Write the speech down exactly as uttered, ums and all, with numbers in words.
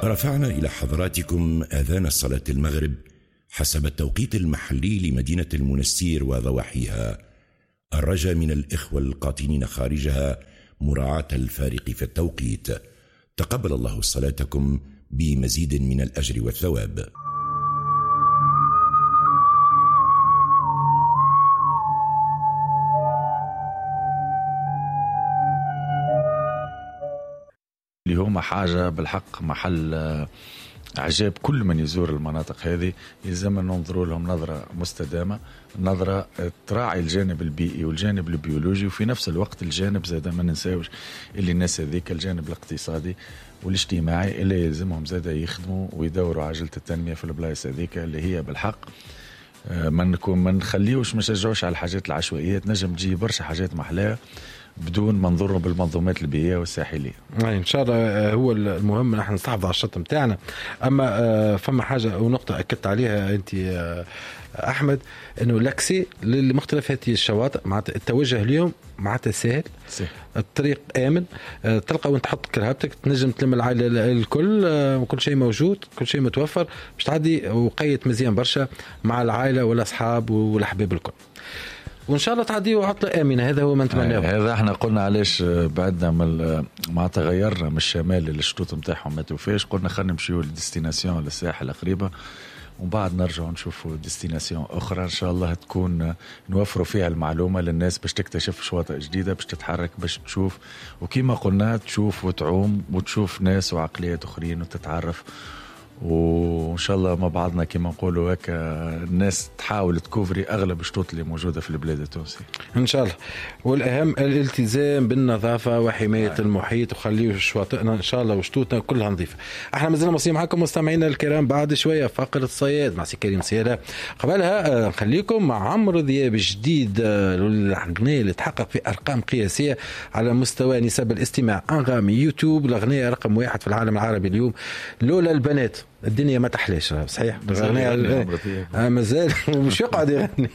رفعنا إلى حضراتكم آذان صلاة المغرب حسب التوقيت المحلي لمدينة المنستير وضواحيها. الرجاء من الإخوة القاطنين خارجها مراعاة الفارق في التوقيت. تقبل الله صلاتكم بمزيد من الأجر والثواب. اللي هما حاجة بالحق محل عجاب كل من يزور المناطق هذه، يلزم ننظروا لهم نظرة مستدامة، نظرة تراعي الجانب البيئي والجانب البيولوجي، وفي نفس الوقت الجانب زاد ما ننساوش اللي الناس هذيك الجانب الاقتصادي والاجتماعي اللي يلزمهم زاد يخدموا ويدوروا عجلة التنمية في البلايص هذيك اللي هي بالحق ما نكون ما نخليوش ما نشجعوش على الحاجات العشوائية. تنجم تجي برشا حاجات محلاها بدون ما نضروا بالمنظومات البيئية والساحليه. يعني ان شاء الله هو المهم نحن نستحفظ على الشط نتاعنا. اما فما حاجة ونقطة اكدت عليها انت احمد، انه l'accès لمختلف هذه الشواطئ معناتها التوجه اليوم معناتها سهل، الطريق امن، تلقى وين تحط كرهبتك، تنجم تلم العائلة الكل، وكل شيء موجود، كل شيء متوفر باش تعدي وقيت مزيان برشا مع العائلة والاصحاب والاحباب الكل. وان شاء الله تعدي عطله امنه، هذا هو ما نتمناه. هذا احنا قلنا علاش بعدنا من معناتها غيرنا من الشمال اللي الشطوط نتاعهم ما توفاش، قلنا خلينا نمشيو لل destination للساحل قريبه، ومن بعد نرجعوا نشوفوا destination اخرى ان شاء الله تكون نوفروا فيها المعلومة للناس باش تكتشف شواطئ جديدة، باش تتحرك، باش تشوف، وكما قلنا تشوف وتعوم وتشوف ناس وعقليات اخرين وتتعرف، وان شاء الله مع بعضنا كما نقولوا هكا الناس تحاول تكوفري اغلب الشطوط اللي موجودة في البلاد التونسي ان شاء الله. والاهم الالتزام بالنظافة وحماية آه. المحيط، وخليه شواطئنا ان شاء الله وشطوطنا كلها نظيفة. احنا مازلنا مواصلين معكم مستمعينا الكرام بعد شوية فقره الصياد مع سي كريم سيادة. قبلها نخليكم مع عمرو دياب جديد، الاغنية اللي تحقق في ارقام قياسية على مستوى نسب الاستماع، انغامي، يوتيوب، الاغنية رقم واحد في العالم العربي اليوم، لولا البنات الدنيا ما تحلاش. صحيح، مازال مازال مش يقعد يغني.